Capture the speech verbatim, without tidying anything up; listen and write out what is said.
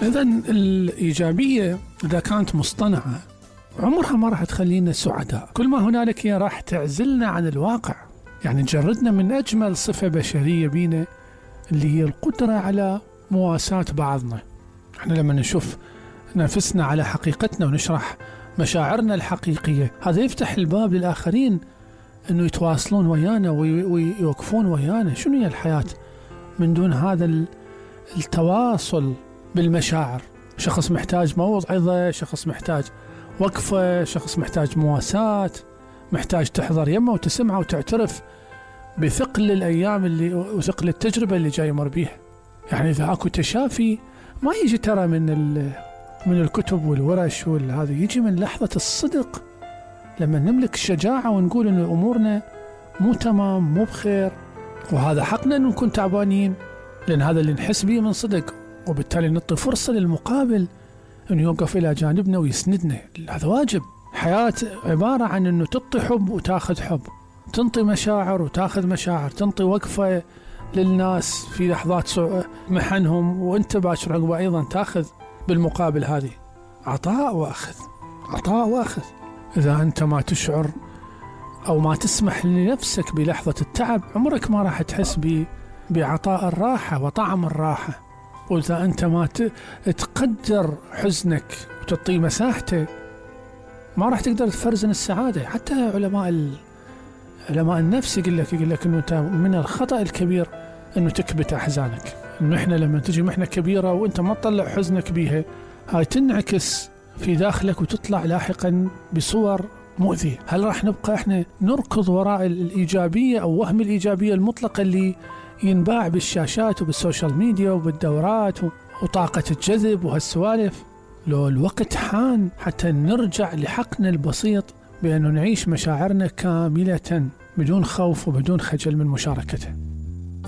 إذا الإيجابية إذا كانت مصطنعة عمرها ما راح تخلينا سعداء، كل ما هنالك هي راح تعزلنا عن الواقع، يعني تجردنا من أجمل صفة بشرية بينا اللي هي القدرة على مواساة بعضنا. احنا لما نشوف نفسنا على حقيقتنا ونشرح مشاعرنا الحقيقية، هذا يفتح الباب للآخرين أنه يتواصلون ويانا ويوقفون ويانا. شنو هي الحياة من دون هذا التواصل بالمشاعر؟ شخص محتاج موعظة، شخص محتاج وقفة، شخص محتاج مواساة، محتاج تحضر يمه وتسمعه وتعترف بثقل الأيام اللي وثقل التجربة اللي جاي يمر بيها. يعني إذا أكو تشافي ما يجي ترى من من الكتب والورش والهذا، يجي من لحظة الصدق لما نملك الشجاعة ونقول إن أمورنا مو تمام مو بخير، وهذا حقنا إن نكون تعبانين، لأن هذا اللي نحس به من صدق، وبالتالي نعطي فرصة للمقابل إنه يوقف إلى جانبنا ويسندنا. هذا واجب. حياة عبارة عن إنه تعطي حب وتاخذ حب، تنطي مشاعر وتاخذ مشاعر، تنطي وقفة للناس في لحظات محنهم، وأنت باكر عقبه أيضا تاخذ بالمقابل. هذه عطاء وأخذ، عطاء وأخذ. إذا أنت ما تشعر أو ما تسمح لنفسك بلحظة التعب، عمرك ما راح تحس بعطاء الراحة وطعم الراحة. وإذا أنت ما تقدر حزنك وتعطيه مساحته، ما راح تقدر تفرزن السعادة. حتى علماء علماء النفس يقول لك يقول لك إنه من الخطأ الكبير إنه تكبت أحزانك. إنه إحنا لما تجي محنة كبيرة وأنت ما تطلع حزنك بيها، هاي تنعكس في داخلك وتطلع لاحقا بصور مؤذية. هل راح نبقى إحنا نركض وراء الإيجابية أو وهم الإيجابية المطلقة اللي ينباع بالشاشات وبالسوشيال ميديا وبالدورات وطاقة الجذب وهالسوالف؟ لو الوقت حان حتى نرجع لحقنا البسيط بأنه نعيش مشاعرنا كاملة بدون خوف وبدون خجل من مشاركته.